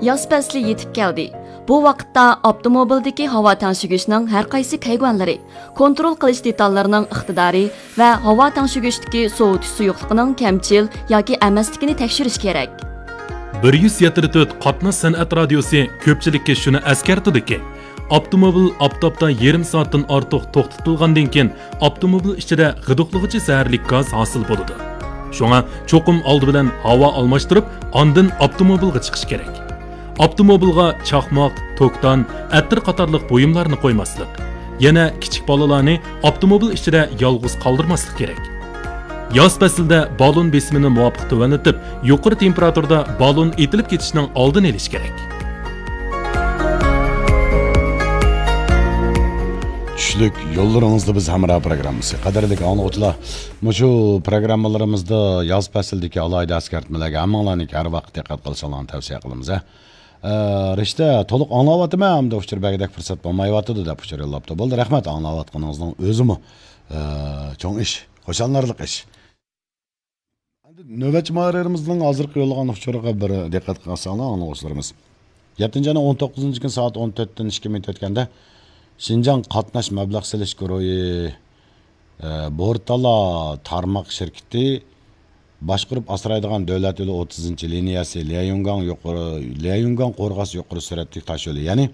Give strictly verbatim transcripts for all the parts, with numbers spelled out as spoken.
ياز پەسلى يېتىپ كەلدى. بۇ ۋاقىتتا ئاپتوموبىلدىكى ھاۋا تەڭشىگۈچنىڭ ھەر قايسى كەيۋەنلىرى، كونترول قىلىش دېتاللىرىنىڭ ئىقتىدارى ۋە ھاۋا تەڭشىگۈچتىكى سوۋۇتۇش سۇيۇقلۇقىنىڭ كەمچىل ياكى ئەمەسلىكىنى تەكشۈرۈش كېرەك. بىر يۈز يەتتە تۆت قاتناش سەنئەت رادىيوسى كۆپچىلىككە شۇنى ئەسكەرتىدۇكى، ئاپتوموبىل ئاپتاپتا يېرىم سائەتتىن ئارتۇق توختىتىلغاندىن كېيىن، ئاپتوموبىل ئىچىدە غىدىقلىغۇچى زەھەرلىك گاز ھاسىل بولىدۇ. شۇڭا چوقۇم ئالدى بىلەن ھاۋا ئالماشتۇرۇپ، ئاندىن ئاپتوموبىلغا چىقىش كېرەك. ئاپتوموبىلغا چاقماق، توكتان، ئەتىر قاتارلىق بۇيۇملارنى قويماسلىق. يەنە كىچىك بالىلارنى ئاپتوموبىل ئىچىدە يالغۇز قالدۇرماسلىق كېرەك. ياز پەسلىدە بالون بېسىمىنى مۇۋاپىق تۆۋەنلىتىپ، يۇقىرى تېمپېراتۇرىدا بالون ئېتىلىپ كېتىشنىڭ ئالدىنى ئېلىش كېرەك. چۈشلۈك يوللىرىڭىزدا بىز ھەمراھ پروگراممىسى. قەدىرلىك ئاڭلىغۇچىلار، مۇشۇ پروگراممىلىرىمىزدا ياز پەسلىدىكى ئالاھىدە ئەسكەرتمىلەرگە ھەممىڭلارنىڭكى ھەر ۋاقىت دىققەت قىلىشىڭلارنى تەۋسىيە قىلىمىز، ھە. ئە، رىشتە، تولۇق ئاڭلاۋاتىمەن، ئەمدى ئۇچۇر بەرگۈدەك پۇرسەت بولمايۋاتىدۇ، دەپ ئۇچۇر يوللاپتۇ. بولدى، رەھمەت، ئاڭلاۋاتقىنىڭىزنىڭ ئۆزىمۇ، ئە، چوڭ ئىش، خۇشاللىنارلىق ئىش. ئەمدى نۆۋەتچى مۇھەررىرىمىزنىڭ ھازىرقى يوللىغان ئۇچۇرىغا بىر دىققەت قىلساڭلار، ئاڭلىغۇچىلىرىمىز. يەتتىنچى ئاينىڭ ئون توققۇزىنچى كۈنى سائەت ئون تۆتتىن ئىككى مىنۇت ئۆتكەندە، شىنجاڭ قاتناش مەبلەغ سېلىش گۇرۇھى، ئە، بورتالا تارماق شىركىتى باشقۇرۇپ ئاسرايدىغان دۆلەت يولى ئوتتۇزىنچى لىنىيەسى ليەيۈنگاڭ يۇقىرى، ليەيۈنگاڭ قورغاس يۇقىرى سۈرئەتلىك تاش يولى، يەنى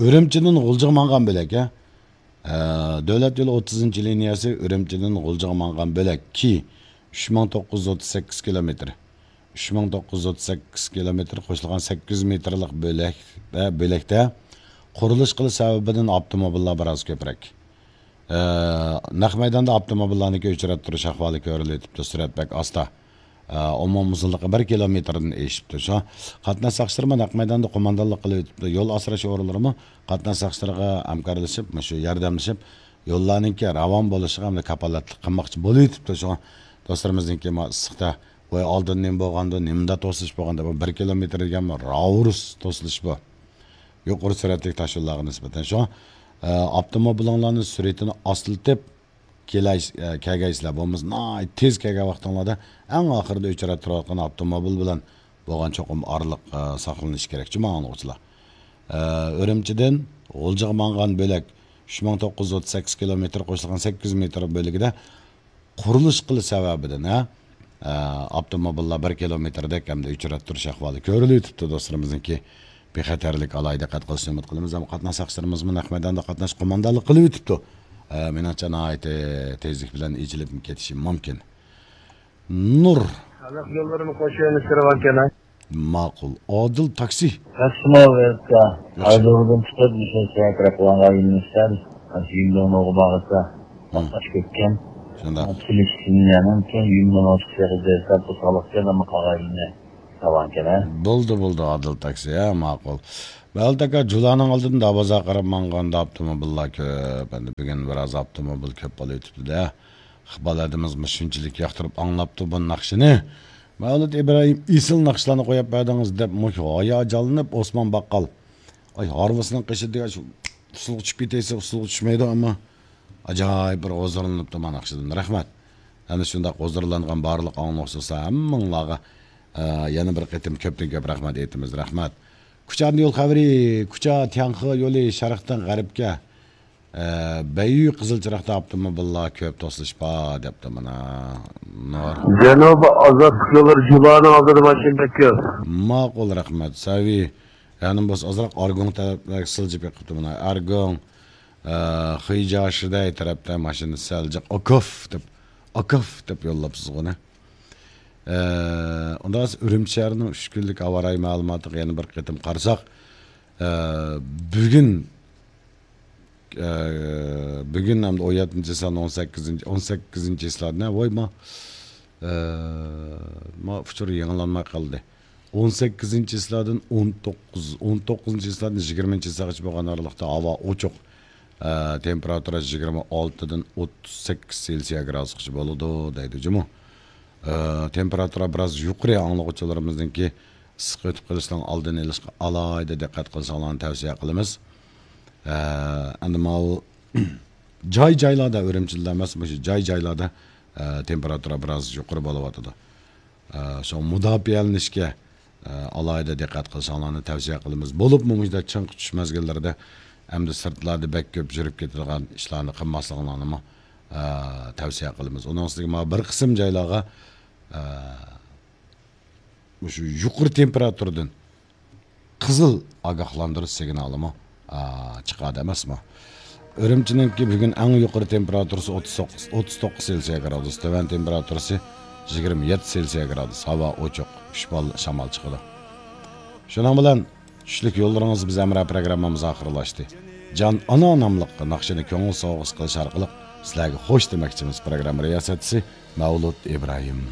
ئۈرۈمچىدىن غۇلجىغا ماڭغان بۆلەك، ھە. ئە، دۆلەت يولى ئوتتۇزىنچى لىنىيەسى ئۈرۈمچىدىن غۇلجىغا ماڭغان بۆلەك، كى ئۈچ مىڭ توققۇز يۈز ئوتتۇز سەككىز كىلومېتىر. ئۈچ مىڭ توققۇز يۈز ئوتتۇز سەككىز كىلومېتىر قوشۇلغان سەككىز يۈز مېتىرلىق بۆلەكتە، بۆلەكتە قۇرۇلۇش قىلىش سەۋەبىدىن ئاپتوموبىللار بىراز كۆپرەك. ئە، نەق مەيداندا ئاپتوموبىللارنىڭكى ئۆچرەتتۈرۈش ئەھۋالى كۆرۈلۈۋېتىپتۇ، سۈرئەت بەك ئاستا. ئە، ئومۇمىي ئۇزۇنلۇقى بىر كىلومېتىردىن ئېشىپتۇ. شۇ قاتناش ساقچىلىرىمۇ نەق مەيداندا قوماندانلىق قىلىۋېتىپتۇ. يول ئاسراش ئورۇنلىرىمۇ قاتناش ساقچىلىرىغا ھەمكارلىشىپ، مۇشۇ ياردەملىشىپ، يوللارنىڭكى راۋان بولۇشىغا ھەمدە كاپالەتلىك قىلماقچى بولۇۋېتىپتۇ. شۇڭا دوستلىرىمىزنىڭكى ما ئىسسىقتا، ۋاي، ئالدىن نېمە بولغاندۇ، نېمىنداق توسۇلۇش بولغاندۇ، بۇ بىر كىلومېتىر دېگەنمۇ راۋۇرۇس توسۇلۇش بۇ. يۇقىرى سۈرئەتلىك تاش يوللارغا نىسبەتەن. شۇڭا، ئە، ئاپتوموبىلىڭلارنىڭ سۈرئىتىنى ئاستىلىتىپ، كېلەي-، ئە، كەلگەيسىلەر، بولمىسا ناھايىتى تېز كەلگەن ۋاقتىڭلاردا ئەڭ ئاخىرىدا ئۆچرەتتۈرۈۋاتقان ئاپتوموبىل بىلەن بولغان چوقۇم ئارىلىق، ئە، ساقلىنىشى كېرەك، جۇما ئاڭلىغۇچىلار. ئە، ئۈرۈمچىدىن غۇلجىغا ماڭغان بۆلەك ئۈچ مىڭ توققۇز يۈز ئوتتۇز سەككىز كىلومېتىر قوشۇلغان سەككىز مېتىر بۆلىكىدە قۇرۇلۇش قىلىش سەۋەبىدىن، ھە، ئە، ئاپتوموبىللار بىر كىلومېتىردەك ھەمدە ئۆچرەتتۈرۈش ئەھۋالى كۆرۈلۈۋېتىپتۇ. دوستلىرىمىزنىڭكى بىخەتەرلىك ئالاھىدە دىققەت قىلىشىنى ئۈمىد قىلىمىز. ئەمما قاتناش ساقچىلىرىمىزمۇ نەق مەيداندا قاتناش قوماندانلىق قىلىۋېتىپتۇ. ئە، مېنىڭچە ناھايىتى تېزلىك بىلەن ئېچىلىپ كېتىشى مۇمكىن. نۇر. خەلق يوللىرىنى قوشۇۋېلىش كىرىۋالغان. ماقۇل. ئادىل تاكسى. ماكسىمال ۋاقىتتا ھازىردىن چىقىپ، مۇشۇ سەكرەپ قىلغانغا يۆنىلىشتە، مۇشۇ يۈمدۇڭنوغا بارغۇچە قاتناش كۆپكەن. شۇنداق. پىلىشتىنيەنىڭ كېيىن يۈمدۇڭنوغا چىقىشىغا دەسسەپ بۇ سالىقكەن، ئەمما قالغان يېرىنى ساۋانكەن، ھە؟ بولدى، بولدى، ئادىل تاكسى، ھە، ماقۇل. مەلۇت ئاكا، جۇلانىڭ ئالدىدىن دابازاغا قاراپ ماڭغاندا ئاپتوموبىللار كۆپ. ئەمدى بۈگۈن بىراز ئاپتوموبىل كۆپ بولۇۋېتىپتۇ-دە. ئىقبال ھەدىمىز مۇشۇنچىلىك ياقتۇرۇپ ئاڭلاپتۇ بۇ ناخشىنى. مەۋلۇت ئىبراھىم، ئېسىل ناخشىلارنى قويۇپ بەردىڭىز، دەپ مۇشۇ ھاياجانلىنىپ ئوسمان باققال، ئاي، ھارۋىسىنىڭ قېشىدا دېگەن شۇ ئۇسسۇلغا چۈشۈپ كېتەيسە، ئۇسسۇلغا چۈشمەيدۇ، ئەمما ئەجايىپ بىر ھۇزۇرلىنىپتۇ مانا ناخشىدىن. رەھمەت. ئەنە شۇنداق ھۇزۇرلانغان بارلىق ئاڭلىغۇچىلار ھەممىڭلارغا، ئە، يەنە بىر قېتىم كۆپتىن كۆپ رەھمەت ئېيتىمىز. رەھمەت. كۇچاندىن يول خەۋىرى، كۇچا تياڭخې يولى شەرقتىن غەربكە، ئە، بەييۈ قىزىل چىراغدا ئاپتوموبىللار كۆپ توسۇلۇش بار، دەپتۇ مانا نۇر. جەنۇبىي ئازادلىق يوللىرى جۇلانىڭ ئالدىدا ماشىنا بەك كۆپ. ماقۇل، رەھمەت. سەۋىي، يەنە بولسا ئازراق ئارگۇڭ تەرەپلەرگە سىلجىپ بېقىپتۇ مانا. ئارگۇڭ، ئە، خۇيجياشىدەي تەرەپتە ماشىنا سەل جىق ئاكاف دەپ، ئاكاف دەپ يوللاپسىزغۇ نە. ئە، ئۇنداق ئۈرۈمچى شەھىرىنىڭ ئۈچ كۈنلۈك ھاۋا رايى مەلۇماتىغا يەنە بىر قېتىم قارىساق، ئە، بۈگۈن، ئە، بۈگۈن ھەمدە ئون يەتتىنچى سان، ئون سەككىزىنچى، ئون سەككىزىنچى چىسلادىن، ۋاي، ما، ئە، ما ئۇچۇر يېڭىلانماي قالدى. ئون سەككىزىنچى چىسلادىن ئون توققۇز، ئون توققۇزىنچى چىسلادىن يىگىرمىنچى چىسلاغىچە بولغان ئارىلىقتا ھاۋا ئوچۇق. ئە، تېمپېراتۇرا يىگىرمە ئالتىدىن ئوتتۇز سەككىز سېلسىيە گرادۇسقىچە بولىدۇ، دەيدۇ جۇمۇ. ئە، تېمپېراتۇرا بىراز يۇقىرى، ئاڭلىغۇچىلىرىمىزنىڭكى ئىسسىق ئۆتۈپ قېلىشنىڭ ئالدىنى ئېلىشقا ئالاھىدە دىققەت قىلىشىڭلارنى تەۋسىيە قىلىمىز. ئە، ئەمدى ماۋۇ جاي-جايلاردا، ئۈرۈمچىدىلا ئەمەس، مۇشۇ جاي-جايلاردا، ئە، تېمپېراتۇرا بىراز يۇقىرى بولۇۋاتىدۇ. ئە، شۇڭا مۇداپىئەلىنىشكە، ئە، ئالاھىدە دىققەت قىلىشىڭلارنى تەۋسىيە قىلىمىز. بولۇپمۇ مۇشۇنداق چىڭ تۇتۇش مەزگىللىرىدە ئەمدى سىرتلاردا بەك كۆپ يۈرۈپ كېتىدىغان ئىشلارنى قىلماسلىقىڭلارنىمۇ، ئە، تەۋسىيە قىلىمىز. ئۇنىڭ ئۈستىگە مانا بىر قىسىم جايلارغا، ئە، مۇشۇ يۇقىرى تېمپېراتۇرىدىن قىزىل ئاگاھلاندۇرۇش سىگنالىمۇ، ئا، چىقاردى ئەمەسمۇ؟ ئۈرۈمچىنىڭكى بۈگۈن ئەڭ يۇقىرى تېمپېراتۇرىسى ئوتتۇز توققۇز، ئوتتۇز توققۇز سېلسىيە گرادۇس، تۆۋەن تېمپېراتۇرىسى يىگىرمە يەتتە سېلسىيە گرادۇس، ھاۋا ئوچۇق، ئۈچ بال شامال چىقىدۇ. شۇنىڭ بىلەن چۈشلۈك يوللىرىڭىز بىز ھەمراھ پروگراممىمىز ئاخىرلاشتى. جان ئانا ناملىق ناخشىنى كۆڭۈل سوۋغىسى قىلىش ئارقىلىق سىلەرگە خوش دېمەكچىمىز. پروگرامما رىياسەتچىسى مەۋلۇت ئىبراھىم.